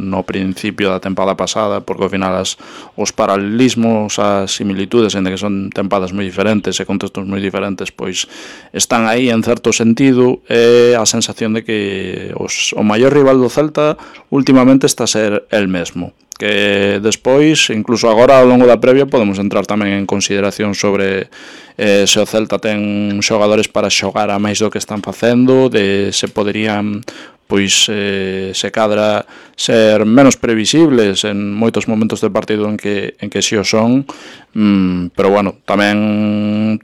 no principio da tempada pasada, porque ao final os paralelismos, as similitudes, en que son tempadas moi diferentes e contextos moi diferentes, pois están aí en certo sentido, e a sensación de que o maior rival do Celta últimamente está a ser el mesmo, que despois, incluso agora ao longo da previa, podemos entrar tamén en consideración sobre se o Celta ten xogadores para xogar a máis do que están facendo, de se poderían pois se cadra ser menos previsibles en moitos momentos do partido en que si o son, pero bueno, tamén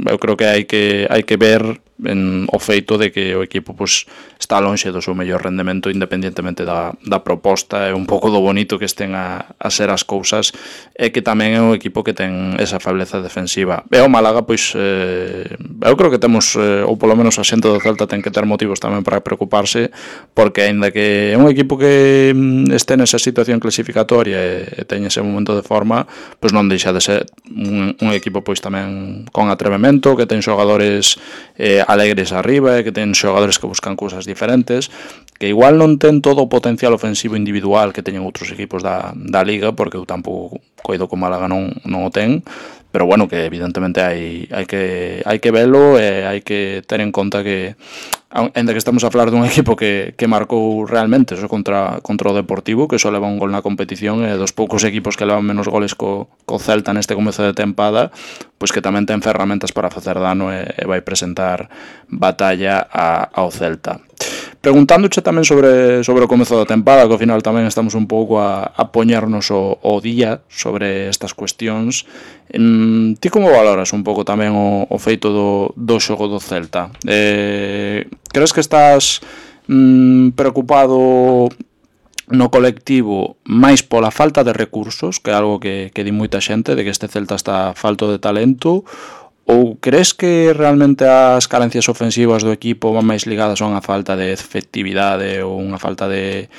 eu creo que hai que ver o feito de que o equipo pois está lonxe do seu mellor rendemento, independentemente da proposta, e un pouco do bonito que estén a ser as cousas, e que tamén é un equipo que ten esa febleza defensiva. E o Málaga, pois eu creo que temos, ou polo menos a xente do Celta ten que ter motivos tamén para preocuparse, porque aínda que é un equipo que este nesa situación clasificatoria e ten ese momento de forma, pois non deixa de ser un equipo pois tamén con atrevemento, que ten xogadores alegres arriba, e que ten xogadores que buscan cousas diferentes, que igual non ten todo o potencial ofensivo individual que teñen outros equipos da Liga, porque eu tampouco coido que o Málaga non o ten, pero bueno, que evidentemente hai que velo, e hai que ter en conta que ainda que estamos a falar dun equipo que marcou realmente eso contra o Deportivo, que só leva un gol na competición, e dos poucos equipos que levan menos goles co Celta neste comezo de tempada, pois que tamén ten ferramentas para facer dano, e vai presentar batalla ao Celta. Preguntándoche tamén sobre o comezo da tempada, que ao final tamén estamos un pouco a poñernos o día sobre estas cuestións, ti como valoras un pouco tamén o feito do xogo do Celta? Crees que estás preocupado no colectivo máis pola falta de recursos, que é algo que di moita xente, de que este Celta está falto de talento, ou crees que realmente as carencias ofensivas do equipo van máis ligadas a unha falta de efectividade ou unha falta de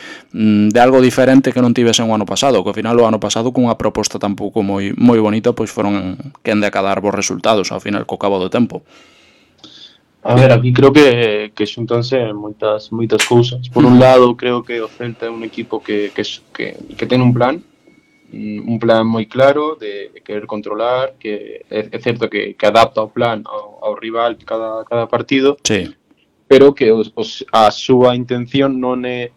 algo diferente que non tivesen o ano pasado, que ao final o ano pasado cunha proposta tampouco moi bonita, pois foron quen de acadar bons resultados ao final co cabo do tempo? A ver, aquí creo que xuntanse moitas cousas. Por un lado, creo que o Celta é un equipo que ten un plan moi claro de querer controlar, que é certo que adapta o plan ao rival cada partido, sí, pero que a súa intención non é,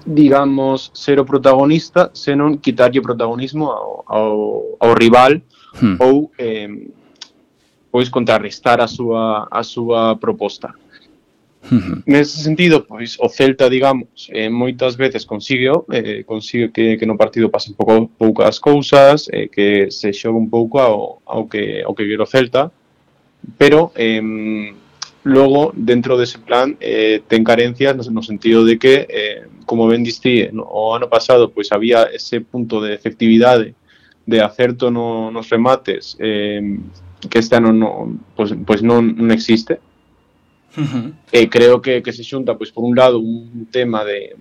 digamos, ser o protagonista, senón quitarlle o protagonismo ao rival, ou pois contrarrestar a súa proposta. Nese sentido, pois o Celta, digamos, moitas veces consigue que no partido pasen poucas cousas, que se xogue un pouco ao que quere o Celta, pero logo, dentro dese plan, ten carencias no sentido de que, como ben diste, o ano pasado pois había ese punto de efectividade, de acerto nos remates, que este ano pois non existe. Creo que se xunta, pois por un lado, un tema de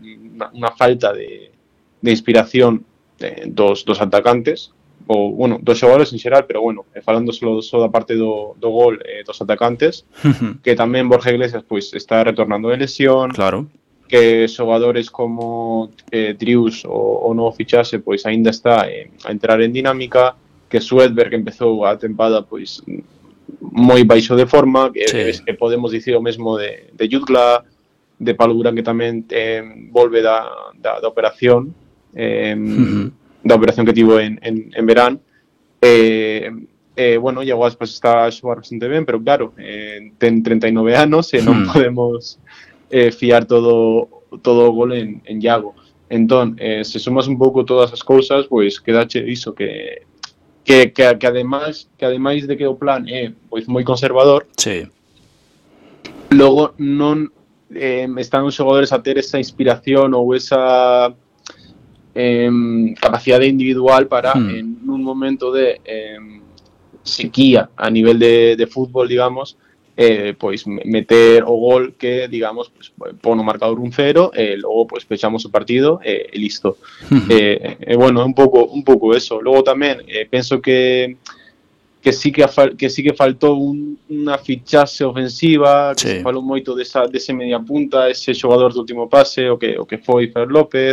unha falta de inspiración dos atacantes, ou, bueno, dos xogadores en xeral, pero bueno, falando só da parte do gol, dos atacantes, que tamén Borja Iglesias pois está retornando de lesión, claro, que xogadores como Drius o novo fichaxe pois aínda está a entrar en dinámica, que Svedberg empezou a tempada pois moi baixo de forma, que podemos dicir o mesmo de Jutgla, de Palura, que tamén volve da operación, da operación que tivo en verán. Bueno, Iago Aspas está a xogar bastante ben, pero claro, ten 39 anos e non podemos fiar todo o gol en Iago. Entón, se sumas un pouco todas as cousas, pois quedache iso que ademais de que o plan é pois moi conservador, sí, logo non están os xogadores a ter esa inspiración ou esa capacidade individual para en un momento de sequía a nivel de fútbol, digamos, pois meter o gol que, digamos, pois, pon o marcador 1-0, logo pois pechamos o partido e listo. Bueno, un pouco eso. Logo tamén penso que sí que faltou unha fichaxe ofensiva, que se falou moito dese media punta, ese xogador do último pase, o que foi Fer López,